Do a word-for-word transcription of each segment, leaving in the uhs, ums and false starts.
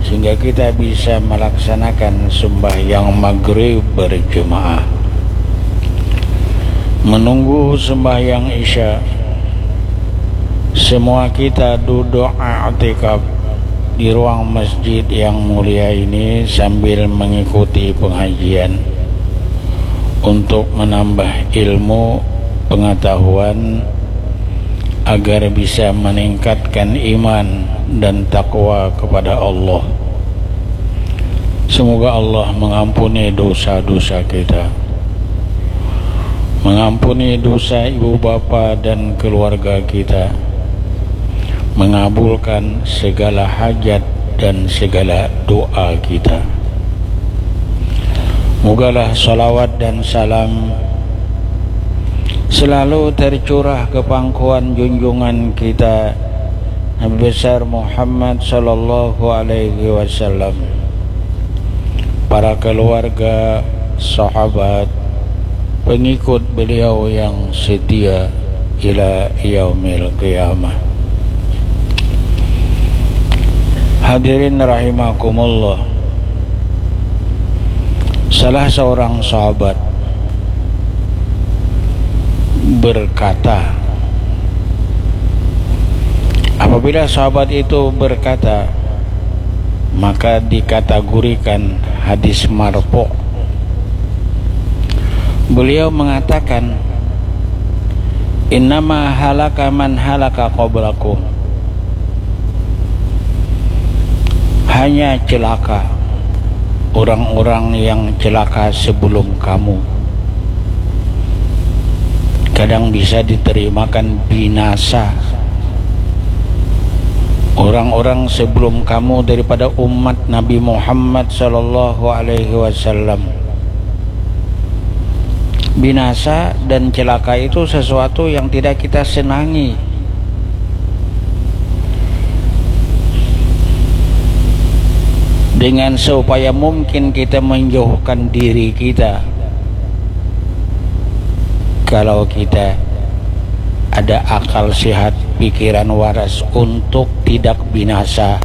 sehingga kita bisa melaksanakan sembahyang maghrib berjemaah. Menunggu sembahyang isya, semua kita duduk i'tikaf di ruang masjid yang mulia ini sambil mengikuti pengajian untuk menambah ilmu, pengetahuan, agar bisa meningkatkan iman dan takwa kepada Allah. Semoga Allah mengampuni dosa-dosa kita, mengampuni dosa ibu bapa dan keluarga kita, mengabulkan segala hajat dan segala doa kita. Mogalah salawat dan salam selalu tercurah ke pangkuan junjungan kita, Nabi Besar Muhammad sallallahu alaihi wasallam, para keluarga, sahabat, pengikut beliau yang setia ila yaumil qiyamah. Hadirin rahimakumullah. Salah seorang sahabat berkata, apabila sahabat itu berkata, maka dikategorikan hadis marfu. Beliau mengatakan, "Innama halaka man halaka qablakum." Hanya celaka orang-orang yang celaka sebelum kamu. Kadang bisa diterimakan binasa orang-orang sebelum kamu daripada umat Nabi Muhammad sallallahu alaihi wasallam. Binasa dan celaka itu sesuatu yang tidak kita senangi. Dengan seupaya mungkin kita menjauhkan diri kita, kalau kita ada akal sehat, pikiran waras, untuk tidak binasa,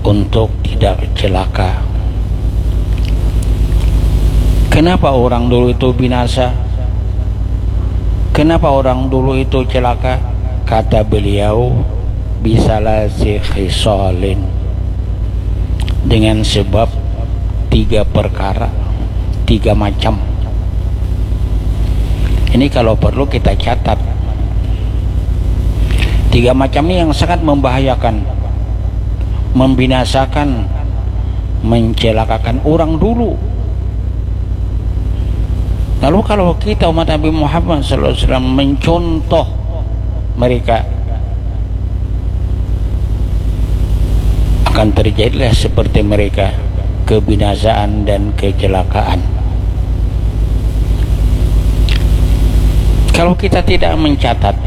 untuk tidak celaka. Kenapa orang dulu itu binasa? Kenapa orang dulu itu celaka? Kata beliau, "Bisalasi khisalin." Dengan sebab tiga perkara, tiga macam. Ini kalau perlu kita catat. Tiga macam ini yang sangat membahayakan, membinasakan, mencelakakan orang dulu. Lalu kalau kita umat Nabi Muhammad sallallahu alaihi wasallam mencontoh mereka, akan terjadilah seperti mereka, kebinasaan dan kecelakaan. Kalau kita tidak mencatat,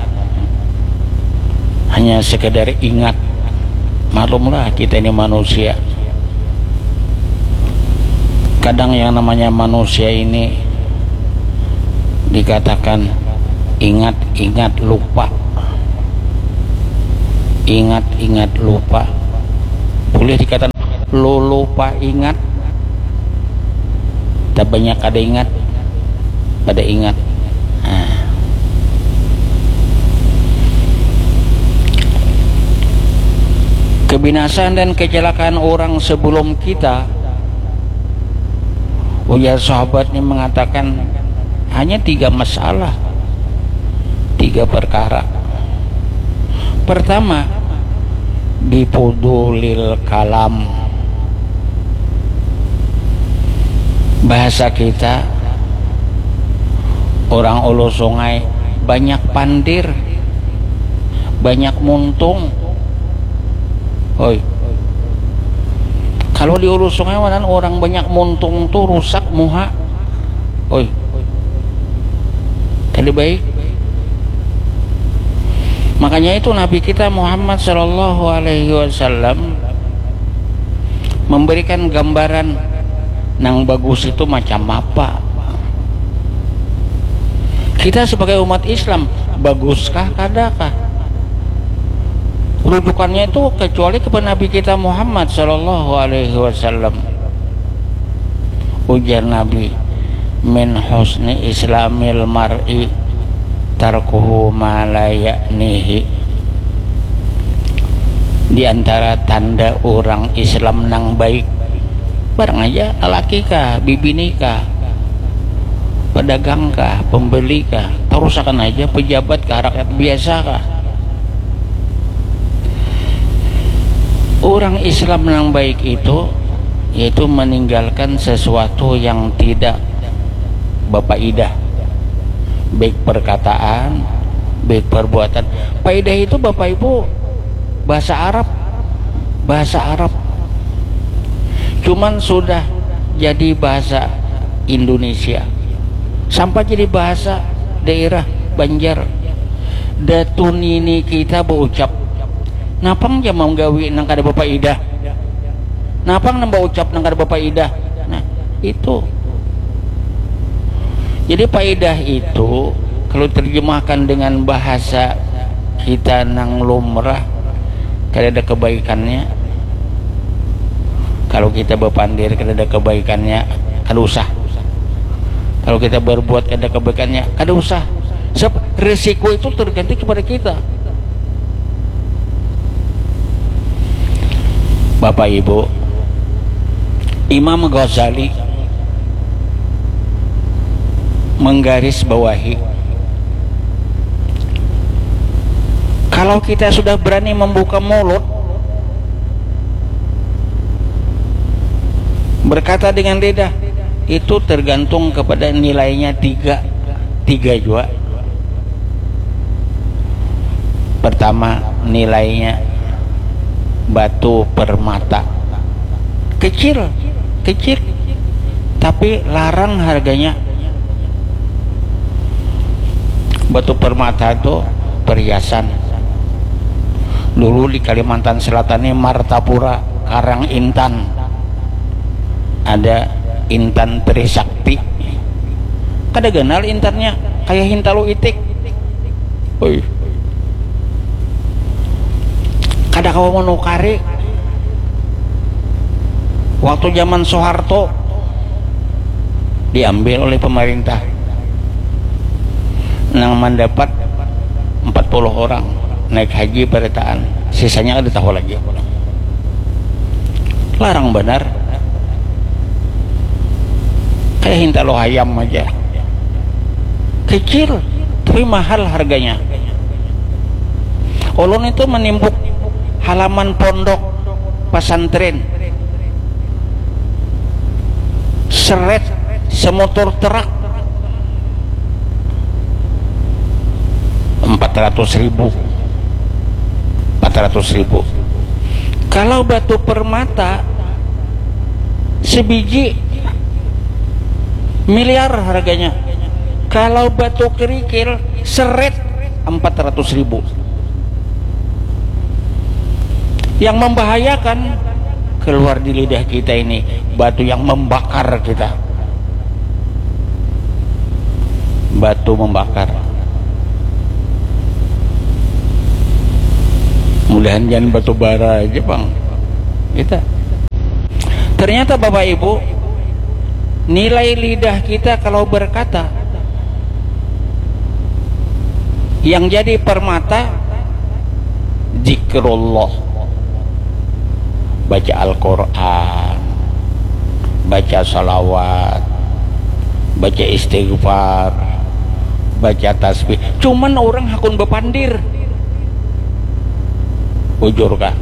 hanya sekedar ingat, maklumlah kita ini manusia. Kadang yang namanya manusia ini dikatakan ingat-ingat lupa. Ingat-ingat lupa. Boleh dikatakan lulupa ingat. Tak banyak ada ingat, pada ingat. Nah. Kebinasaan dan kecelakaan orang sebelum kita, ujar sahabat ini mengatakan, hanya tiga masalah, tiga perkara. Pertama, bifudulil kalam. Bahasa kita, orang Ulu Sungai, banyak pandir, banyak muntung. Oi. Kalau di Ulu Sungai, wanan orang banyak muntung tu rusak muha. Oi. Kada baik. Makanya itu Nabi kita Muhammad sallallahu alaihi wasallam memberikan gambaran nang bagus itu macam apa. Kita sebagai umat Islam, baguskah, kadakah? rujukannya itu kecuali kepada Nabi kita Muhammad sallallahu alaihi wasallam. Ujar Nabi, "Min husni islamil mar'i tarkuhu ma la ya'nihi." Di antara tanda orang Islam nang baik, barang aja, lalaki kah, bibini kah, pedagang kah, pembeli kah, tarusakan aja, pejabat kah, rakyat biasa kah. Orang Islam yang baik itu yaitu meninggalkan sesuatu yang tidak bapaidah, baik perkataan, baik perbuatan. Paidah itu, Bapak Ibu, bahasa Arab, bahasa Arab. Cuman sudah jadi bahasa Indonesia, sampai jadi bahasa daerah Banjar. Datu nini kita baucap, napang ja manggawi nang kada bapaidah, napang nang baucap nang kada bapaidah. Nah, itu. Jadi paidah itu kalau terjemahkan dengan bahasa kita nang lumrah, kada ada kebaikannya. Kalau kita bapandir, kada ada kebaikannya, kada usah. Kalau kita berbuat kada kebaikannya, kada usah. Sebab resiko itu tergantung kepada kita. Bapak Ibu, Imam Ghazali menggaris bawahi, kalau kita sudah berani membuka mulut, berkata dengan lidah, itu tergantung kepada nilainya tiga, tiga jua. Pertama, nilainya batu permata. Kecil, kecil, tapi larang harganya. Batu permata itu perhiasan. Dulu di Kalimantan Selatan ini, Martapura, Karang Intan, ada intan Trisakti. Kada ganal intannya, kayak hintalu itik. Oi. Kada kawa menukari. Waktu zaman Soeharto, diambil oleh pemerintah. Nang mendapat empat puluh orang naik haji barataan, sisanya kada tahu lagi. Larang banar. Kayak hintalu hayam aja. Kecil, tapi mahal harganya. Ulun itu menimbuk halaman pondok pesantren, seret semotor truk, empat ratus ribu. Empat ratus ribu. Kalau batu permata sebiji miliar harganya. Kalau batu kerikil seret empat ratus ribu. Yang membahayakan keluar di lidah kita ini, batu yang membakar kita. Batu membakar. Mudahan jangan batu bara aja, Bang. Kita. Ternyata, Bapak Ibu, nilai lidah kita kalau berkata, yang jadi permata zikrullah, baca Al-Quran, baca salawat, baca istighfar, baca tasbih. Cuman orang hakun bapandir. Bujur kah?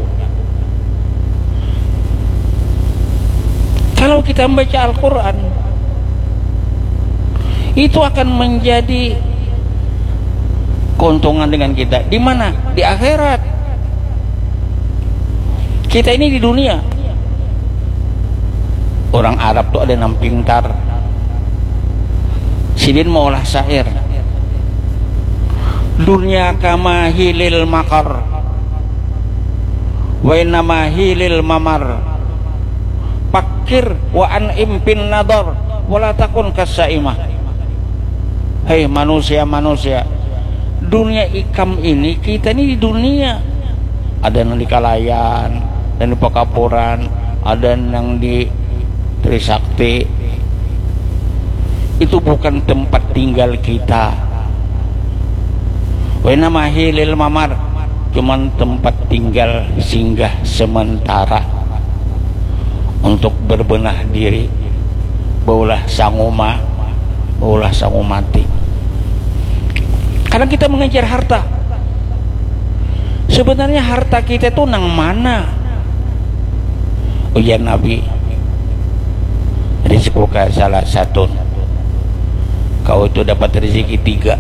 Kalau kita membaca Al-Quran, itu akan menjadi keuntungan dengan kita. Di mana? Di akhirat. Kita ini di dunia. Orang Arab tuh ada nang pintar. Sidin maulah syair. Dunia kama hilil makar. Wa innama hilil mamar. Pakir wa an impin nadar. Wala takun kasaimah. Hei manusia-manusia, dunia ikam ini, kita ini di dunia. ada nang di Kalayan, ada nang di Pakapuran, ada nang di Trisakti. Itu bukan tempat tinggal kita. Wena mahi lil mamar, cuman tempat tinggal singgah sementara untuk berbenah diri, baulah sanguma, baulah sangumati. Kadang kita mengejar harta. Sebenarnya harta kita itu nang mana? Ujar Nabi, rizquka salasatun. Kau itu dapat rezeki tiga.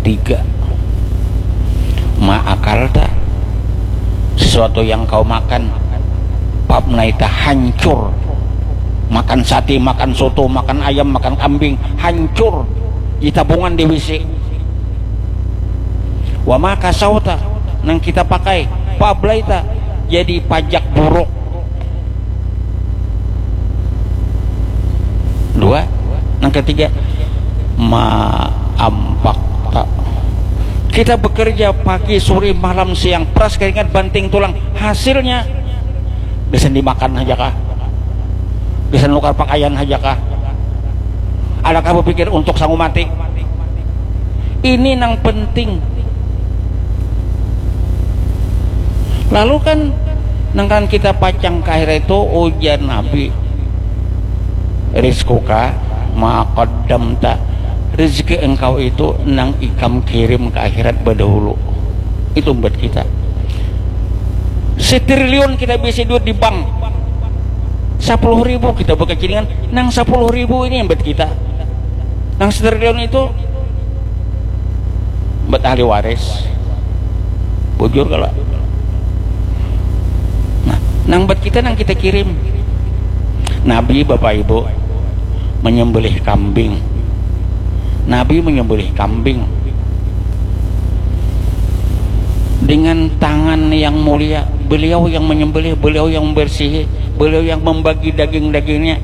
Tiga. Ma akalta, sesuatu yang kau makan. Pabnaita, hancur. Makan sate, makan soto, makan ayam, makan kambing, hancur. Di tabungan di W C. Wa ma kasauta, nang kita pakai. Pablaita, jadi pajak buruk. Dua. Nang ketiga, ma ampakta. Kita bekerja pagi, sore, malam, siang, peras keringat, banting tulang. Hasilnya, gasan dimakan haja kah? Gasan nukar pakaian haja kah? Adakah bepikir untuk sangumati? Ini nang penting. Lalu kan, nang kan kita pacang ka akhirat itu, ujar Nabi, rizquka ma qaddamta, rezeki engkau itu nang ikam kirim ka akhirat badahulu. Itu buat kita. Setriliun kita bisi duit di bank, sapuluh ribu kita bakacilingan, nang sapuluh ribu ini buat kita. Nang setriliun itu buat ahli waris. Bujur kalau. Nah, nang buat kita, nang kita kirim. Nabi, Bapak Ibu, menyembelih kambing. Nabi menyembelih kambing dengan tangan yang mulia. Beliau yang menyembelih, beliau yang membersihi, beliau yang membagi daging-dagingnya.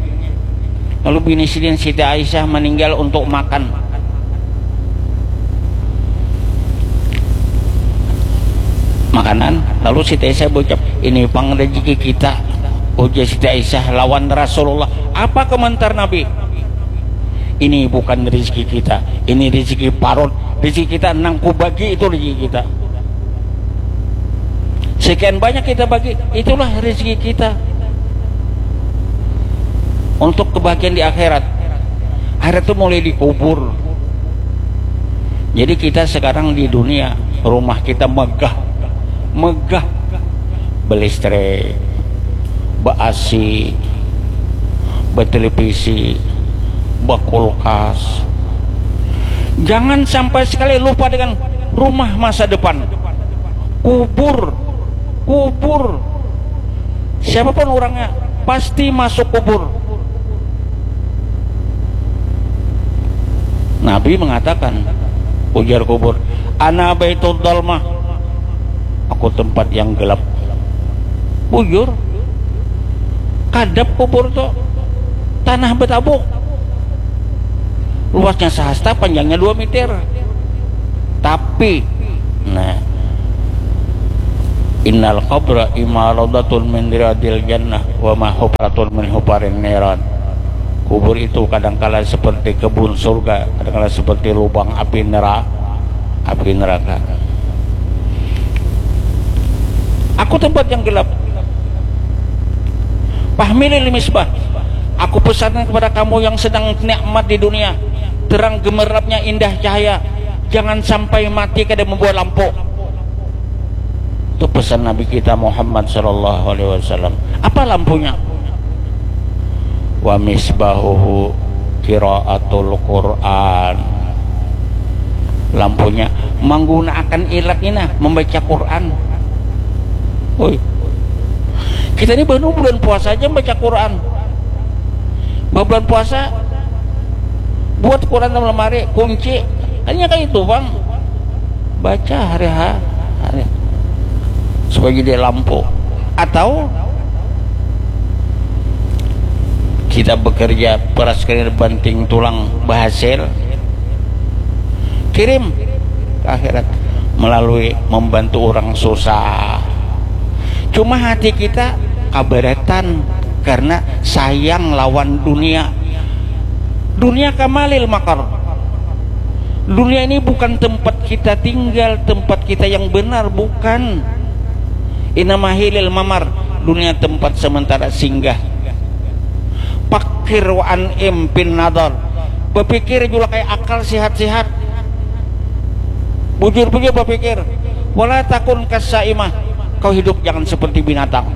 Lalu bini sidin, Siti Aisyah, meninggal untuk makan makanan. Lalu Siti Aisyah berucap, "Ini pang rezeki kita," ujar Siti Aisyah lawan Rasulullah. Apa komentar Nabi? "Ini bukan rezeki kita, ini rezeki parut. Rezeki kita nang kubagi, itu rezeki kita. Sekian banyak kita bagi, itulah rezeki kita untuk kebahagiaan di akhirat." Akhirat itu mulai dikubur. Jadi kita sekarang di dunia, rumah kita megah, megah, belistrik, be-A C, betelevisi, bekulkas. Jangan sampai sekali lupa dengan rumah masa depan. Kubur, kubur. Siapapun orangnya, pasti masuk kubur. Nabi mengatakan, ujar kubur, "Ana baitud dalmah." Aku tempat yang gelap. Bujur. Kadap kubur tu tanah betabuk. Luasnya sehasta, panjangnya dua meter. Tapi, nah, innal qabra imma radatun min riyadil jannah wa ma hufratun min hufarin niran. Kubur itu kadangkala seperti kebun surga, kadangkala seperti lubang api neraka, api neraka. Aku tempat yang gelap. Fahmilil misbah. Aku pesankan kepada kamu yang sedang nikmat di dunia, terang gemerlapnya, indah cahaya, jangan sampai mati kada membawa lampu. Itu pesan Nabi kita Muhammad sallallahu alaihi wasallam. Apa lampunya? Wa misbahuhu qiraatul Qur'an. Lampunya menggunakan ilat ni nah, membaca Quran. Oi. Kita ni baru bulan puasa aja membaca Quran. Bah bulan puasa, buat Quran dalam lemari, kunci. Hanya kayak itu, Bang. Baca hari ha-, hari. Supaya jadi lampu. Atau kita bekerja peras keringat, banting tulang, berhasil, kirim ke akhirat melalui membantu orang susah. Cuma hati kita kabaratan karena sayang lawan dunia. Dunia kamalil makar. Dunia ini bukan tempat kita tinggal, tempat kita yang benar, bukan. Inamahilil mamar, dunia tempat sementara singgah. Pakir wa an impin nadar. Berpikir juga kayak akal sihat-sihat. Bujur-bujur berpikir. Wala takun kasaimah. Kau hidup jangan seperti binatang.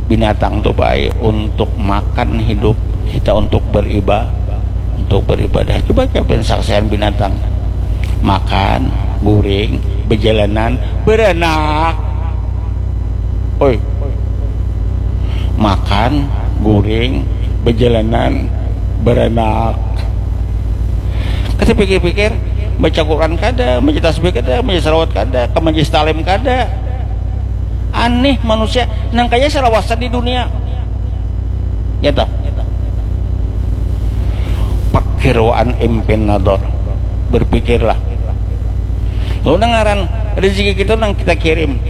Binatang tuh baik untuk makan hidup, kita untuk beribadah, untuk beribadah. Coba kita saksian binatang. Makan, guring, berjalanan, beranak. Oi. Makan, guring, berjalanan, beranak. Kita pikir-pikir, baca Quran kada, baca tasbih kada, baca salawat kada, ke majlis talim kada. Aneh manusia nang kaya salawasan di dunia. Ya toh? Pakir wa an impin nador. Berpikirlah. Lalu nang ngaran rezeki kita nang kita kirim.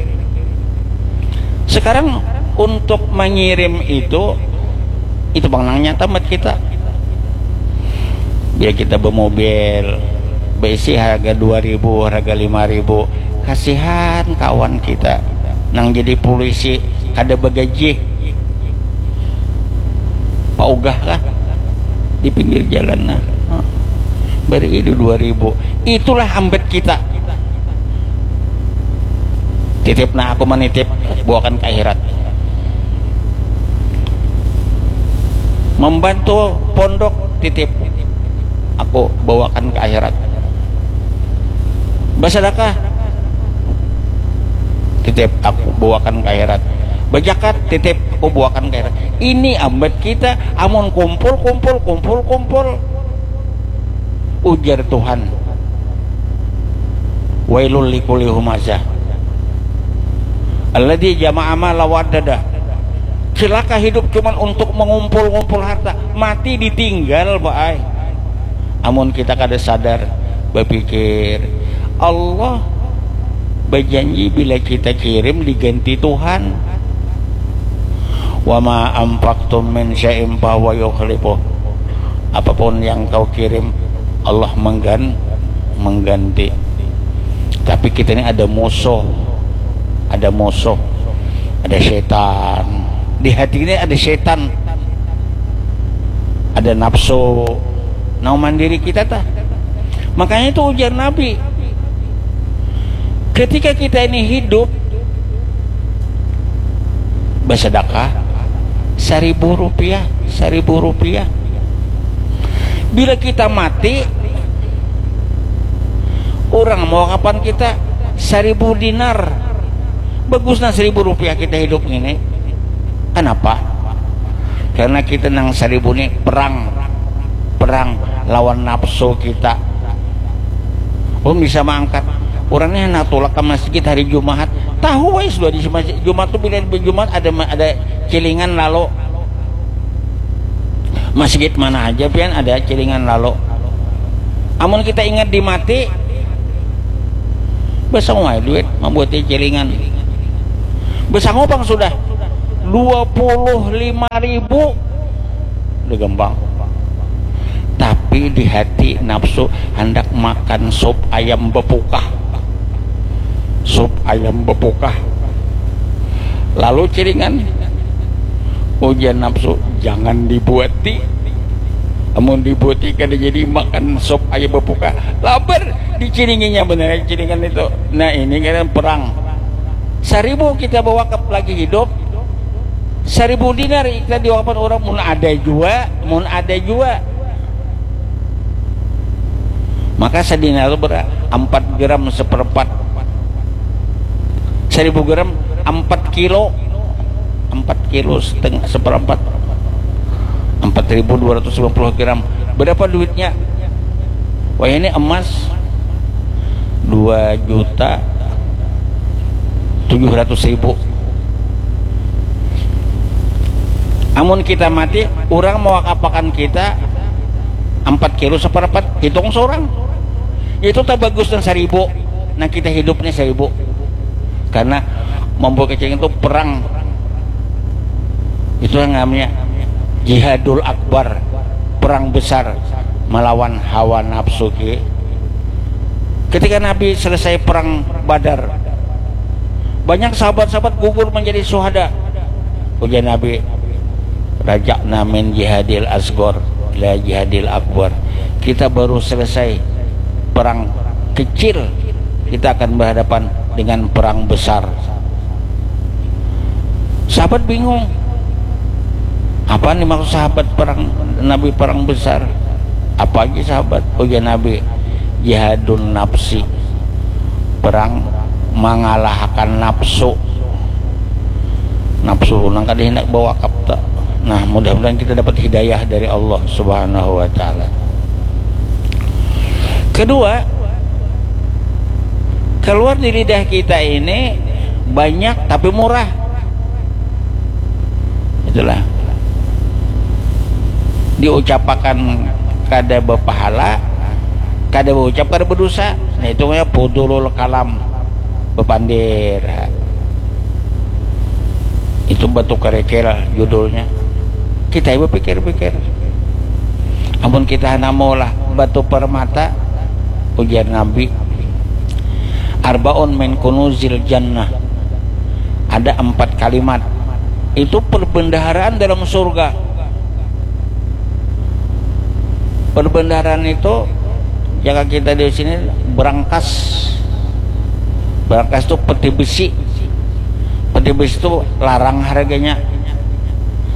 Sekarang untuk mengirim itu, itu bang nang nyata buat kita. Bila kita bermobil, berisi harga dua ribu, harga lima ribu, kasihan kawan kita nang jadi polisi, kada bagaji, paugah kah di pinggir jalan nah. Beri itu dua ribu. Itulah ambat kita. Titip nah, aku menitip, bawakan ke akhirat. Membantu pondok, titip, aku bawakan ke akhirat. Bersedekah, titip, aku bawakan ke akhirat. Berjakat, titip, aku bawakan ke akhirat. Ini ambat kita, amun kumpul, kumpul, kumpul, kumpul. Ujar Tuhan, wailul likuli humazah alladzi jama'a mala wa addadah. Celaka hidup cuman untuk mengumpul-ngumpul harta, mati ditinggal baai. Amun kita kada sadar berpikir, Allah berjanji bila kita kirim diganti Tuhan. Wa ma anfaqtum min syai'in fahuwa yukhlifuh. Apapun yang kau kirim, Allah menggan mengganti. Tapi kita ini ada musuh, ada musuh, ada setan. Di hati ini ada setan, ada nafsu. Nah, mandiri kita tah. Makanya itu ujar Nabi, ketika kita ini hidup, bersedekah seribu rupiah, seribu rupiah. Bila kita mati, orang mewakafkan kita seribu dinar. Bagus nah seribu rupiah kita hidup ini. Kenapa? Karena kita nang seribu ini perang, perang lawan nafsu kita. Belum bisa mengangkat. Orang ini hendak tulak ke masjid hari Jumat. Tahu wes sudah di masjid Jumat tuh, bila Jumat ada ada cilingan lalu. Masjid mana aja pian ada cilingan lalu. Amun kita ingat di mati, besang wae duit membuat cilingan. Besang opang sudah dua puluh lima ribu. Udah gampang. Tapi di hati nafsu hendak makan sup ayam bepukah. Sup ayam bepukah. Lalu cilingan, ujar nafsu, jangan dibuati. Amun dibuati kada jadi makan sup ayam bepukah. Lapar, dicilinginya benar cilingan itu. Nah, ini kan perang. Seribu kita bawa ke lagi hidup, seribu dinar kita diwakafkan orang, mun ada jua, mun ada jua. Maka sadinar itu berapa? Empat gram seperempat. Seribu gram, empat kilo. Empat kilo setengah, seperempat. Empat ribu dua ratus lima puluh gram. Berapa duitnya? Wah, ini emas dua juta tujuh ratus ribu. Amun kita mati, orang mewakafakan kita empat kilo seperempat, hitung seorang. Itu tak bagus dan seribu. Nah, kita hidupnya seribu. Karena Mambawa kecil itu perang. Itu yang namanya jihadul akbar, perang besar melawan hawa nafsu. Ketika Nabi selesai perang Badar, banyak sahabat-sahabat gugur menjadi syuhada. Ujar Nabi, "Raja'na min jihadil asgor la jihadil akbar." Kita baru selesai perang kecil, kita akan berhadapan dengan perang besar. Sahabat bingung, apa nih maksud sahabat perang, Nabi perang besar? Apa aja sahabat? Ujar Nabi, jihadun nafsi, perang mengalahkan nafsu. Nafsu nang kada hendak bawakap ta. Nah, mudah-mudahan kita dapat hidayah dari Allah Subhanahu wa Ta'ala. Kedua, keluar di lidah kita ini banyak tapi murah. Itulah, diucapakan kada berpahala, kada berucap kada berdosa. Nah, itu namanya fudulul kalam, bepandir. Itu batu kerikil judulnya. Kita ibu pikir-pikir, amun kita hana maulah batu permata, ujar Nabi, "Arbaun min kunuzil jannah." Ada empat kalimat, itu perbendaharaan dalam surga. Perbendaharaan itu, jika kita di sini, berangkas. Berangkas itu peti besi. Peti besi itu larang harganya.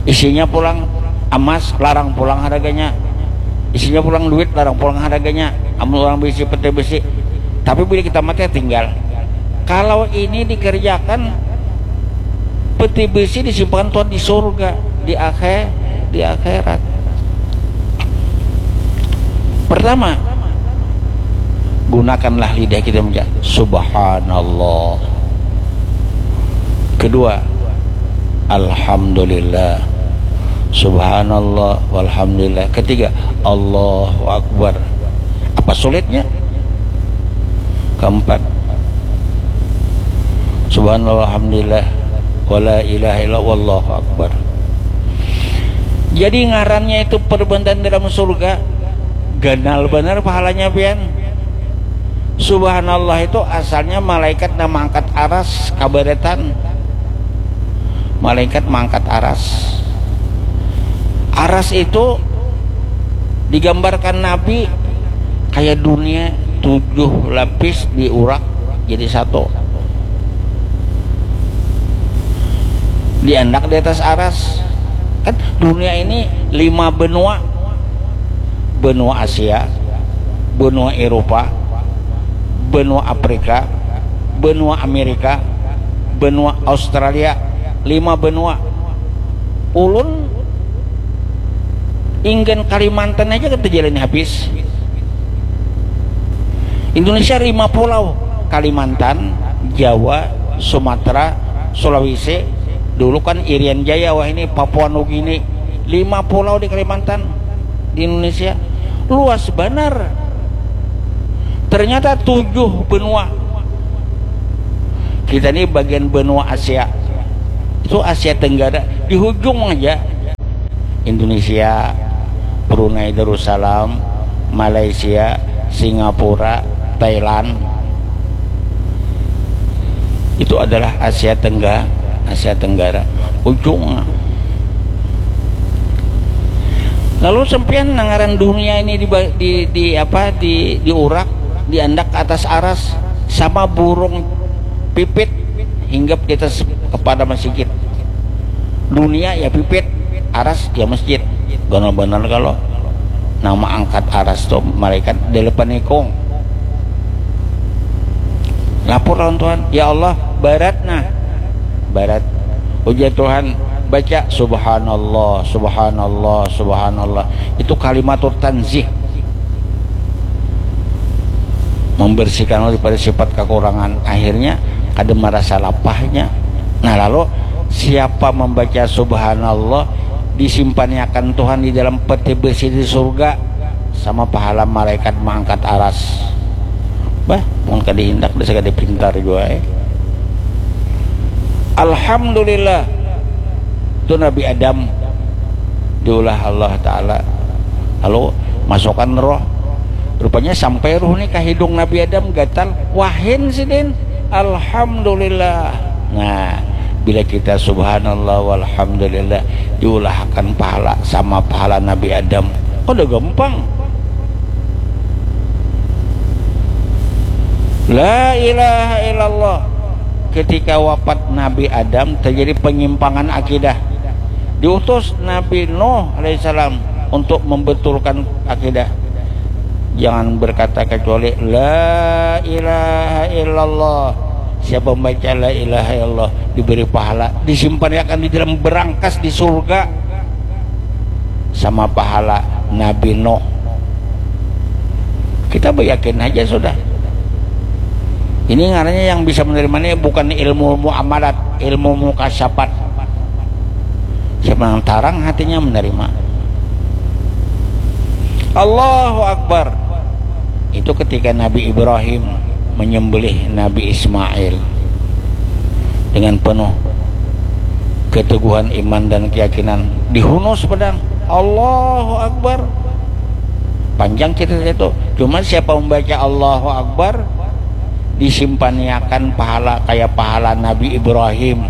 Isinya pulang emas, larang pulang harganya. Isinya pulang duit, larang pulang harganya. Amun orang bisi peti besi. Tapi bila kita mati, tinggal. Kalau ini dikerjakan, peti besi disimpan Tuhan di surga, di akhir, di akhirat. Pertama, gunakanlah lidah kita mengucap subhanallah. Kedua, alhamdulillah. Subhanallah walhamdulillah. Ketiga, Allahu Akbar. Apa sulitnya? Keempat, subhanallah walhamdulillah wala ilaha illallah wallahu akbar. Jadi ngarannya itu perbendaharaan dalam surga, ganal banar pahalanya pian. Subhanallah itu asalnya malaikat nang mangkat aras kabaretan. Malaikat mangkat aras. Aras itu digambarkan Nabi kayak dunia tujuh lapis diurak jadi satu. Diandak di atas aras. Kan dunia ini lima benua. Benua Asia, benua Eropa, benua Afrika, benua Amerika, benua Australia, lima benua. Ulun inggan Kalimantan aja kita jalani habis. Indonesia lima pulau, Kalimantan, Jawa, Sumatera, Sulawesi. Dulu kan Irian Jaya, wah ini Papua Nugini. Lima pulau di Kalimantan, di Indonesia. Luas banar. Ternyata tujuh benua. Kita ini bagian benua Asia. Itu Asia Tenggara, di hujung aja. Indonesia, Brunei Darussalam, Malaysia, Singapura, Thailand. Itu adalah Asia Tenggara, Asia Tenggara. Ujung. Lalu sampian nang ngaran dunia ini di, di, di apa di diurak, diandak atas aras sama burung pipit hinggap di atas kepala masigit. Dunia ya pipit, aras ya masjid. Ganal banar kalo nang maangkat aras tu malaikat dalapan ikung. Lapor lawan Tuhan, "Ya Allah, barat nah." Barat. Ujar Tuhan, "Baca subhanallah, subhanallah, subhanallah." Itu kalimatur tanzih. Membersihkan daripada sifat kekurangan. Akhirnya kada merasa lapahnya. Nah, lalu siapa membaca subhanallah, disimpannya akan Tuhan di dalam peti besi di surga sama pahala malaikat mengangkat aras. Bah, mun kada hindak, dasar kada pintar jua, eh. Alhamdulillah, tu Nabi Adam diulah Allah Ta'ala, lalu masukkan roh. Rupanya sampai roh ni ka hidung Nabi Adam, gatal, wahin sidin. Alhamdulillah. Nah, bila kita subhanallah walhamdulillah, diulahakan pahala sama pahala Nabi Adam. Kada gampang. La ilaha illallah. Ketika wafat Nabi Adam, terjadi penyimpangan akidah. Diutus Nabi Nuh alaihissalam untuk membetulkan akidah. Jangan berkata kecuali la ilaha illallah. Siapa membaca la ilaha illallah diberi pahala, disimpan akan di dalam berangkas di surga sama pahala Nabi Nuh. Kita beryakin aja sudah. Ini ngarannya yang bisa menerima ini bukan ilmu muamalat, ilmu mukasyapat. Siapa yang tarang hatinya menerima. Allahu Akbar. Itu ketika Nabi Ibrahim menyembelih Nabi Ismail dengan penuh keteguhan iman dan keyakinan, dihunus pedang. Allahu Akbar. Panjang cerita itu. Cuma siapa membaca Allahu Akbar, disimpaniakan pahala kayak pahala Nabi Ibrahim.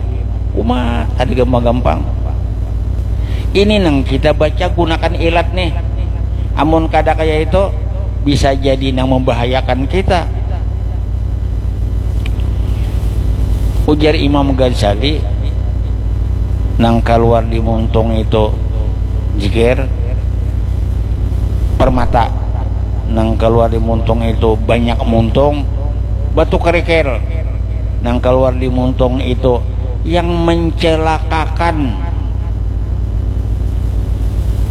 Uma, kada gampang-gampang. Ini nang kita baca gunakan ilat nih. Amun kada kayak itu, bisa jadi nang membahayakan kita. Ujar Imam Ghazali, nang keluar di muntung itu jikir, permata, nang keluar di muntung itu banyak muntung, batu kerikil, nang keluar di muntung itu yang mencelakakan.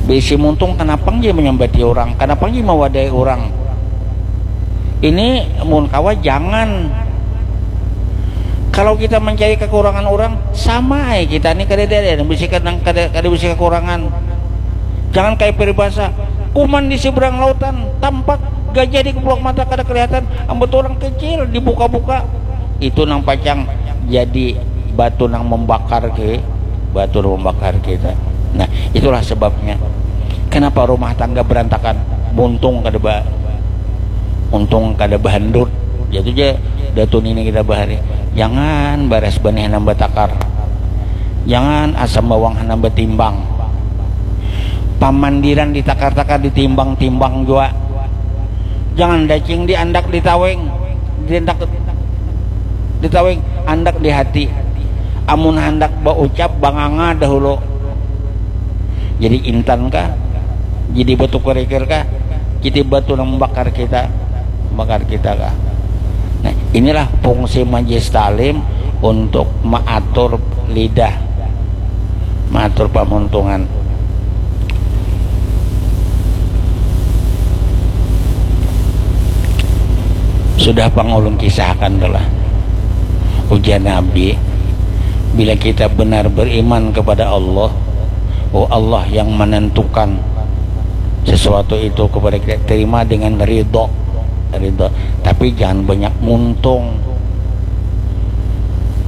Bisi muntung, kenapa nggih menyambati orang, kenapa nggih mewadai orang? Ini mun kawa jangan. Kalau kita mencari kekurangan orang, sama aja kita nih kada ada yang bisi kada, kada, kada bisi kekurangan. Jangan kayak peribahasa, kuman di seberang lautan tampak, gajah di keplok mata kada kelihatan, ambut orang kecil dibuka-buka. Itu nang pacang jadi batu nang membakar ke, batu nang membakar kita. Nah, itulah sebabnya kenapa rumah tangga berantakan. Muntung kada ba, untung kada bahandut. Jatuh ja datu nini kita bahari. Jangan baras banih nambah takar. Jangan asam bawang nambah timbang. Pamandiran ditakar-takar, ditimbang-timbang jua. Jangan dacing diandak ditaweng, diandak ditaweng, andak di hati. Amun handak baucap, banganga dahulu. Jadi intan kah? Jadi batu kerikil kah? Jadi batu nang membakar kita, membakar kita kah? Nah, inilah fungsi majlis taklim untuk mengatur lidah, mengatur pamuntungan. Sudah pang ulun kisahkan tu lah. Ujar Nabi, bila kita benar beriman kepada Allah, oh, Allah yang menentukan sesuatu itu kepada kita, terima dengan ridho, ridho. Tapi jangan banyak muntung.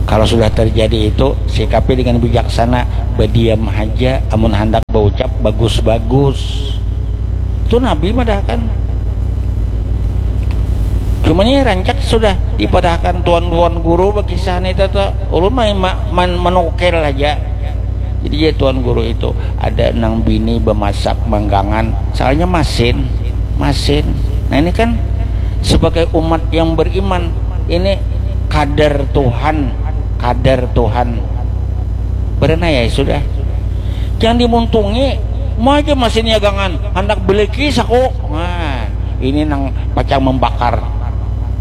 Kalau sudah terjadi itu, sikapi dengan bijaksana, berdiam aja, amun handak berucap bagus-bagus. Itu Nabi madahkan. Cuma ini rancak sudah dipadahakan tuan-tuan guru bakisah nih, tata ulun main ma- man- menukil aja. Jadi ya, tuan guru itu ada nang bini bemasak manggangan, soalnya masin, masin. Nah, ini kan sebagai umat yang beriman, ini kadar Tuhan, kadar Tuhan. Berenai ya sudah. Jangan dimuntungi, mau aja masin ya gangan, handak beliki saku. Nah, ini nang pacang membakar.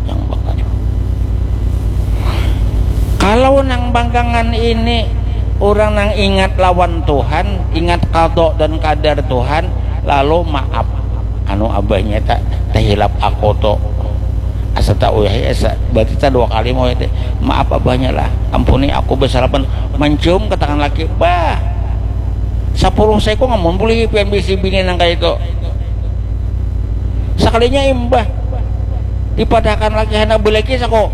Yang bakar. Kalau nang bangkangan ini orang nang ingat lawan Tuhan, ingat qada dan kadar Tuhan, lalu maaf. Anu, abahnya tak terhilap aku tu. Asa tak uyah, asa berarti tak dua kali mau itu. Maaf abahnya lah. Ampuni aku, besalapan, mencium ke tangan laki. Bah. Sapuluh sekung amun boleh pian bisi bini nang kayak itu. Sekalinya imbah dipadahakan laki, handak beliki saku.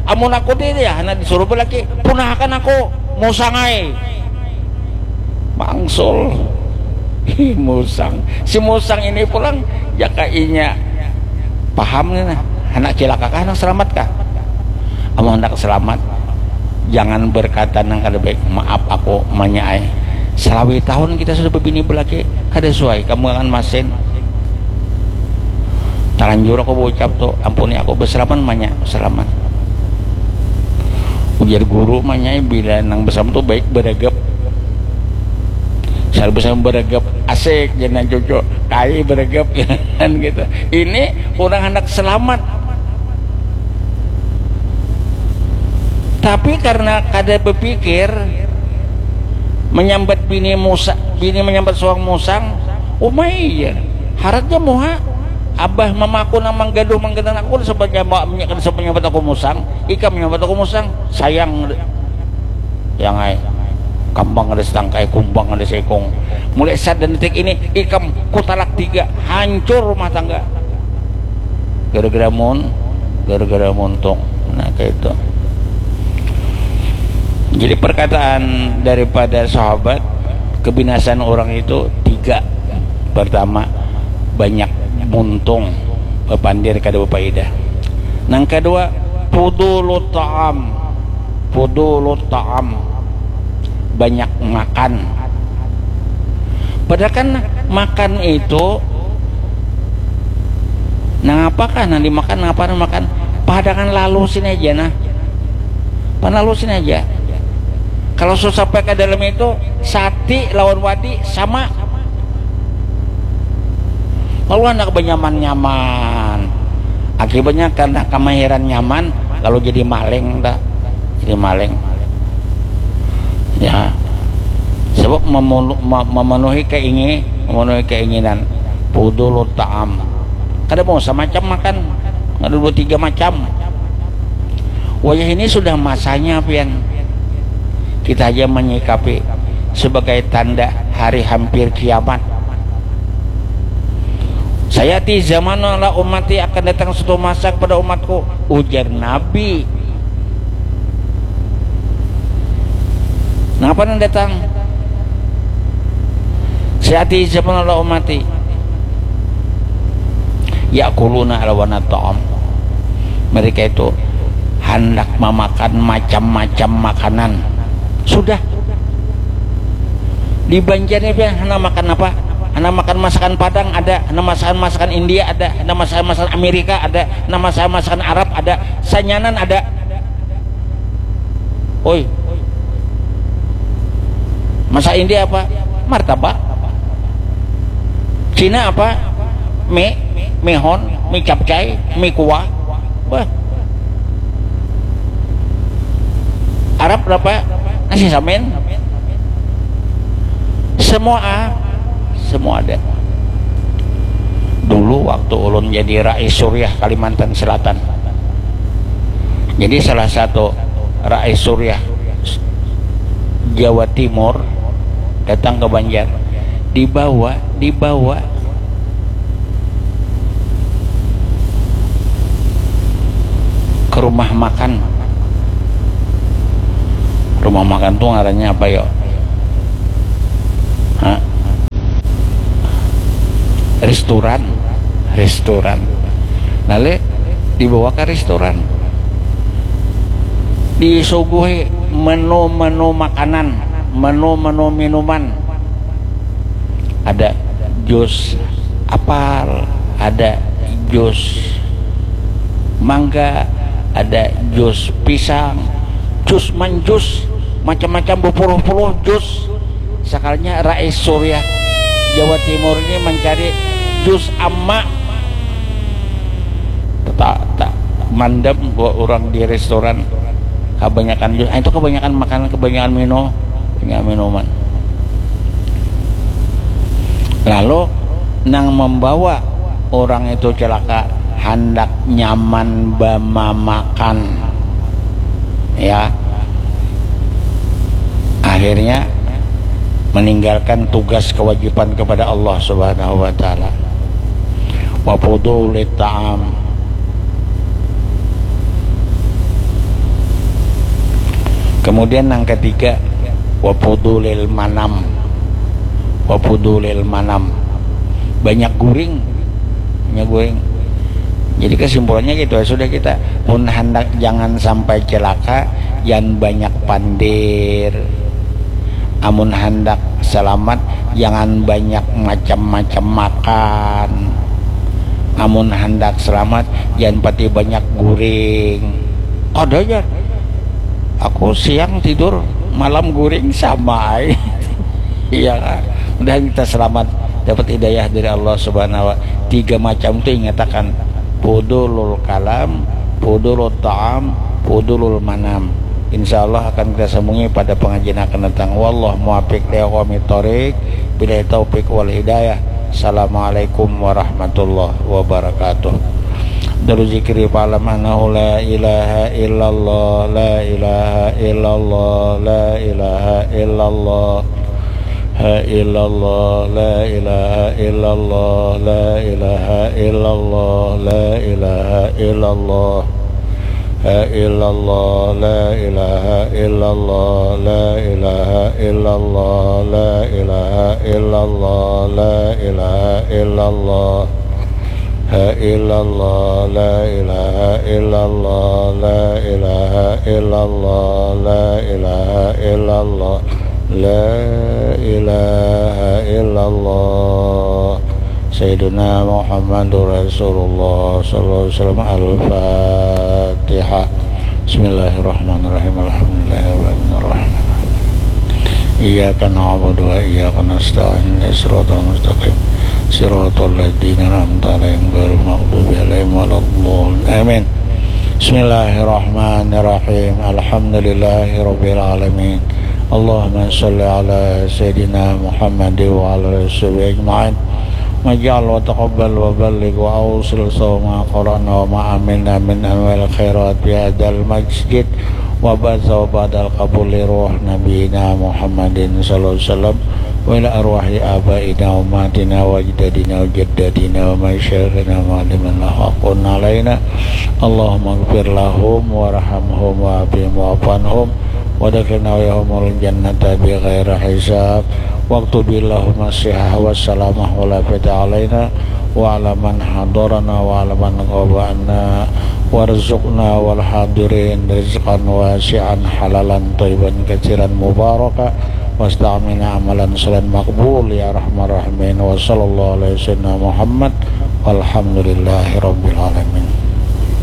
Amun aku ti ya, hana disuruh belaki, punahakan aku, musang ai. Mangsul. Hi, musang. Si musang ini pulang, jaka inya paham nih nah, handak cilaka kah, handak selamat kah? Amun handak selamat, jangan berkata nang kada baik. Maaf aku, manya ai. Salawi tahun kita sudah bebini belaki, kada suai kamu akan masin. Talanjur aku baucap tu, ampuni aku, beselaman manya, beselaman. Ujar guru manya, bila nang beselaman tu baik beregep. Sal beselaman beregep, asik, jangan cucu, kai beregep, kan gitu. Ini orang hendak selamat. Tapi karena kada berpikir, menyambat bini musa, bini menyambat suang musang, umai ya. Haratnya muha, abah mamaku nang manggaduh manggaduh aku, kada sempat nyambat, kada sempat nyambat aku musang, ikam nyambat aku musang, sayang. Yang ai, kambang ada setangkai, kumbang ada seikung. Mulai saat dan detik ini, ikam kutalak tiga, hancur rumah tangga. Gara-gara mun, gara-gara muntung. Nah, kayak itu. Jadi perkataan daripada sahabat, kebinasaan orang itu tiga. Pertama, banyak muntung, bepandir kada berfaedah. Nang kedua, fudulut ta'am. Fudulut ta'am, banyak makan. Padahal kan makan itu, nang apakah nang dimakan, nang apa nang makan, padangan lalu sini aja nah, pan lalu sini aja. Kalau susah pakai dalam itu, sati lawan wadi sama. Lalu anak benyaman-nyaman, akibatnya karena kemahiran nyaman, lalu jadi maling dah, jadi maling. Ya, sebab memunu- me- memenuhi keingi- memenuhi keinginan. Fudulut ta'am, kada mau semacam makan, ada dua tiga macam. Wayah ini sudah masanya pian, kita aja menyikapi sebagai tanda hari hampir kiamat. Saya ti zaman ala umati, akan datang suatu masa kepada umatku, ujar Nabi. Napa nang datang? Saya ti zaman ala umati, yakuluna alwana ta'am. Mereka itu hendak memakan macam-macam makanan. Sudah. Di Banjar ni pian handak makan apa? Handak makan masakan Padang ada, handak masakan masakan India ada, handak masakan masakan Amerika ada, handak masakan masakan Arab ada, sanyanan ada. Oi. Masakan India apa? Martabak. Cina apa? Mie, mie hon, mie capcay, mie kuah. Wah. Arab berapa? Nasi samin. Semua, semua ada. Dulu waktu ulun jadi Rais Suriah Kalimantan Selatan, jadi salah satu Rais Suriah Jawa Timur datang ke Banjar, dibawa, dibawa ke rumah makan. Rumah makan tuh ngarannya apa yo? Hah? Restoran, restoran. Lalu dibawa ke restoran, disuguhi menu-menu makanan, menu-menu minuman. Ada jus apal, ada jus mangga, ada jus pisang, jus manjus, macam-macam, bepuluh-puluh jus. Sakalinya Rais Suriah Jawa Timur ini mencari jus ama. Tak, tak mandam buat orang di restoran, kebanyakan jus. Ah, itu kebanyakan makanan, kebanyakan minum, kebanyakan minuman. Lalu nang membawa orang itu celaka, handak nyaman bamamakan, ya, akhirnya meninggalkan tugas kewajiban kepada Allah Subhanahu wa Ta'ala. Wa fudulit ta'am. Kemudian yang ketiga, wafudulil manam. Wafudulil manam. Banyak guring. Banyak guring. Jadi kesimpulannya gitu ya, sudah kita pun hendak jangan sampai celaka, jangan banyak pandir. Amun hendak selamat, jangan banyak macam-macam makan. Amun hendak selamat, jangan pati banyak guring. Kada aja. Aku siang tidur, malam guring sama ai. Iya kan? Mudahan kita selamat, dapat hidayah dari Allah Subhanahu wa. Tiga macam tu ingatakan, fudulul kalam, fudulul ta'am, fudulul manam. Insya Allah akan kita sambungi pada pengajian akan datang. Wallah muwafiq li aqwamit thoriq. Billahi taufiq wal hidayah. Assalamualaikum warahmatullahi wabarakatuh. Dalu zikri fa'lam annahu la ilaha illallah, la ilaha illallah, la ilaha illallah. Ha illallah, la ilaha illallah, la ilaha illallah, la ilaha illallah. Ha illallah, la ilaha illallah, la ilaha illallah, la ilaha illallah, la ilaha illallah. Ha illallah, la ilaha illallah, la ilaha illallah, la ilaha illallah, la ilaha illallah. Sayyiduna Muhammadur Rasulullah sallallahu alaihi wasallam. Al-Fatihah. Bismillahirrahmanirrahim. Alhamdulillahirrahmanirrahim. Iyyaka na'budu wa iyyaka nasta'in. Shiratal mustaqim. Shiratal ladzina an'amta 'alaihim ghairil maghdubi 'alaihim waladdallin. Amin. Bismillahirrahmanirrahim. Alhamdulillahirabbil alamin. Allahumma shalli ala sayyidina Muhammad wa ala alihi washabihi ajmain. Maj'al wa taqabbal wa balligh wa awsil sawma qara'na wa ma amilna min anwa'il khairat fi hadzal masjid wa ba'da wa ba'dal qabul li ruh nabiyina Muhammadin sallallahu alaihi wasallam wa ila arwahi abaina wa ummahatina wa ajdadina wa jaddatina wa masyayikhina wa ma'alimin lahaqun alaina. Allahumma ighfir lahum warhamhum wa afihim wa'fu anhum wa adkhilna wa iyyahumul jannata bi ghairi hisab. Waktub lahum as-sihah was salamah wal afiyata alaina wa ala man hadarana wa ala man ghabana. Warzuqna wal hadirin rizqan wasi'an halalan thayyiban katsiran mubaraka. Wasta'milna amalan shalihan maqbul ya arhamar rahimin. Wa sallallahu ala sayyidina Muhammad. Walhamdulillahi rabbil alamin.